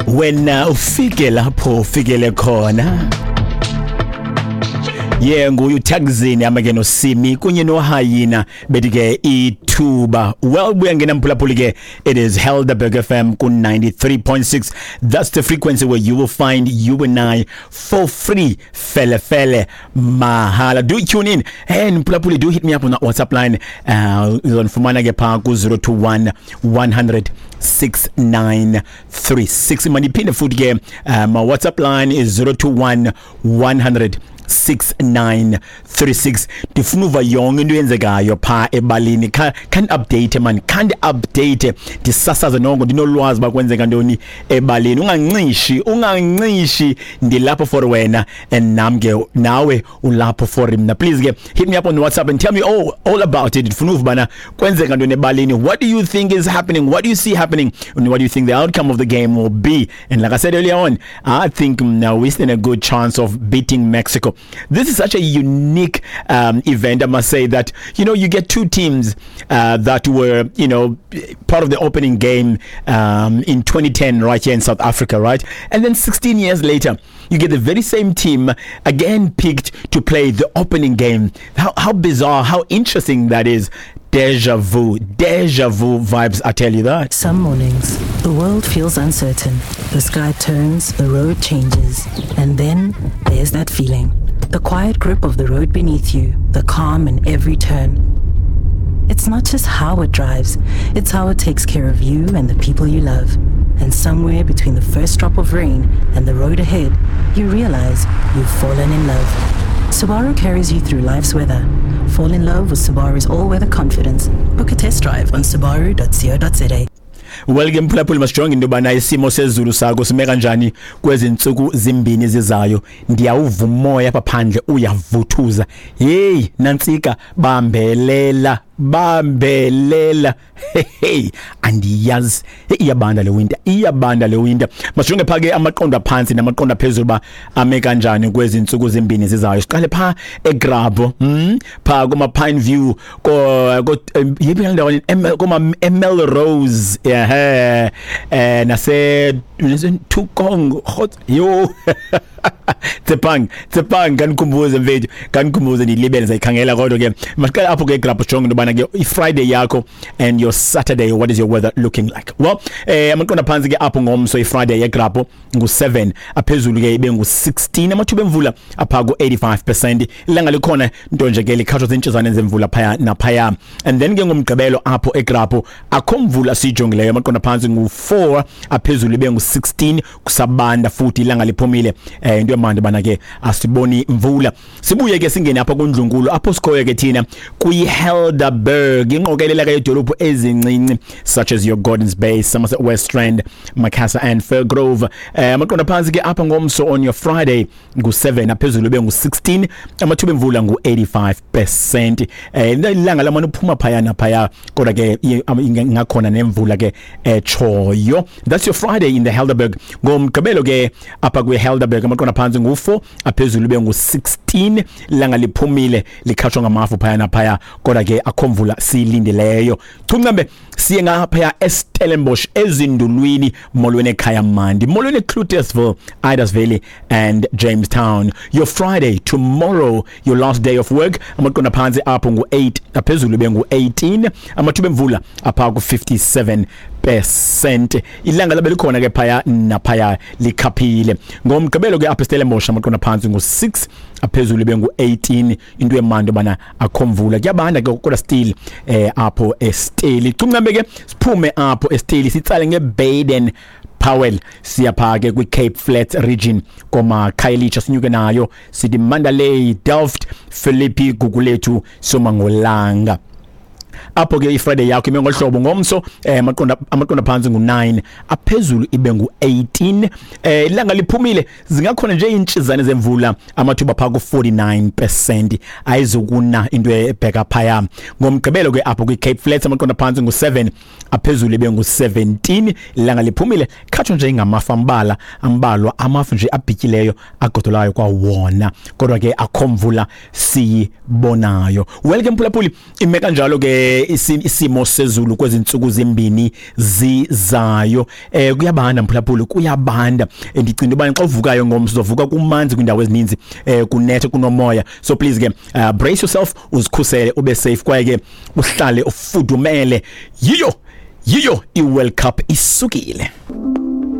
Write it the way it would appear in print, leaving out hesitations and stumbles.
Wena ufike lapho ufikele khona. Yeah, nguye uTagzini amake noSimi kunye noHayina bethi ke ithuba. Well, buya ngena mphulaphuli ke, it is Helderberg FM ku 93.6. That's the frequency where you will find you and I for free, fele fele mahala. Do tune in and mphulaphuli, do hit me up on that WhatsApp line. Uzonifumana ke pha ku 021 100 6936. Maniphinde futhi ke, my WhatsApp line is 021 100 6936. Ndifuna uva yonke into eyenzekayo phaa ebalini. Khani update man, khandi update, ndisasaze nongo ndinolwazi uba kwenzeka ntoni ebalini. Ungancishi, ungancishi, ndilapho for wena and nam ke nawe ulapho for mna. Please ke hit me up on WhatsApp and tell me all about it. Ndifuna uva ubana kwenzeka ntoni ebalini. What do you think is happening? What do you see happening? And what do you think the outcome of the game will be? And like I said earlier on, I think now we stand a good chance of beating Mexico. This is such a unique event, I must say, that you get two teams that were part of the opening game in 2010 right here in South Africa, right? And then 16 years later, you get the very same team again picked to play the opening game. How bizarre, how interesting that is. Deja vu, deja vu vibes, I tell you that. Some mornings, the world feels uncertain. The sky turns, the road changes, and then there's that feeling. The quiet grip of the road beneath you, the calm in every turn. It's not just how it drives, it's how it takes care of you and the people you love. And somewhere between the first drop of rain and the road ahead, you realize you've fallen in love. Subaru carries you through life's weather. Fall in love with Subaru's all-weather confidence. Book a test drive on subaru.co.za. Well ke mphulaphuli, masijonge into yobana isimo sezulu sakho sime kanjani kwezi ntsuku zimbini zizayo. Ndiyawuva umoya apha phandle uyavuthuza. Heyi nantsika, bambelela, bambelela. Hey, andiyazi. Hey, iyabanda le winter, iyabanda le winter. Masijonge pha ke amaqondo aphantsi namaqondo aphezulu uba ame kanjani kwezi ntsuku zimbini zizayo. Siqale pha eGrabho, pha kuma Pine View, ko yiphi le ndawo, kuma Melrose, yeah, nase Thukong hot yo Tsepang, Tsepang, kanikhumbuze mfethu, kanikhumbuze, ndilibele zayikhangela. Kodwa ke masiqale apho ke eGrabho, sijonge into yobana ke iFriday yakho and your Saturday, what is your weather looking like? Well, amaqondo aphantsi ke apho ngomso iFriday eGrabho ngu-7, aphezulu ke ibe ngu-16, amathuba emvula apha ku-85%. Ilanga likhona, nto nje ke likhatshwa ziintshizane zemvula phaya naphaya. And then ke ngomgqibelo apho eGrabho akho mvula siyijongileyo, amaqondo aphantsi ngu-4, aphezulu ibe ngu-16, kusabanda futhi ilanga liphumile. Into yamandi bana ke asiboni mvula. Sibuye ke singene apha kundlunkulu apho sikhoyo ke thina kwi-Helderberg, ingqokelela ke yedolophu ezincinci such as your Gordons Bay, Somerset West Rand, Macassar and Firgrove. Amaqondo aphantsi ke apha ngomso on your Friday ngu-7, aphezulu ibe ngu-16, amathuba emvula ngu-85%. Ilanga lamane uphuma phaya naphaya, kodwa ke ingakhona nemvula ke etshoyo. That's your Friday in the Helderberg. Ngomgqibelo ke apha kwi-Helderberg amaqondo aphantsi ngu-4, aphezulu ibe ngu-16, ilanga liphumile, likhatshwa ngamafu phaya naphaya, kodwa ke akho mvula siyilindileyo. Chuncambe siye ngaphaya eStellenbosch, ezindulwini. Molweni ekhaya mandi, molweni eCloetesville, Idas Valley and Jamestown. Your Friday tomorrow, your last day of work, amaqondo aphantsi apho ngu-8, aphezulu ibe ngu-18, amathuba emvula apha ku-57%. Ilanga labe likhona ke phaya naphaya, likhaphile. Ngomgqibelo ke apha eStellenbosch amaqondo aphantsi ngu-6, aphezulu ibe ngu-18, into emandi bana akho mvula, kuyabanda ke kodwa still apho eSteli. Chuncambe ke siphume apho eSteli, sitsale ngeBaden Powell, siyapha ke kwi-Cape Flats region, koma Khayelitsha, sinyuke nayo sithi Mandalay, Delft, Philippi, Gugulethu, Somangolanga. Apho ke iFriday yakho ime ngohlobo ngomso, amaqondo phansi ngu9, aphezulu ibe ngu18, ilanga liphumile, zingakhona nje intshizane zemvula, amathuba pha ku 49%, ayizukuna into ebheka phaya. Ngomgqibelo ke apho kwi-Cape Flats amaqondo phansi ngu7, aphezulu ibe ngu17, ilanga liphumile, khatshwa nje ngamafu ambala ambalwa, amafu nje abhityileyo agodolayo kwawona, kodwa ke akho mvula siyibonayo. Well ke mphulaphuli, ime kanjalo ke. Isimo sezulu kwezi ntsuku zimbini zizayo, kuyabanda mphulaphuli, kuyabanda. Ndicinga uba xa uvukayo ngomso uzovuka kumanzi kwiindawo ezininzi, kunethe, kunomoya. So please ke, brace yourself, uzikhusele, ube safe, kwaye ke uhlale ufudumele. Yiyo i-World Cup isukile.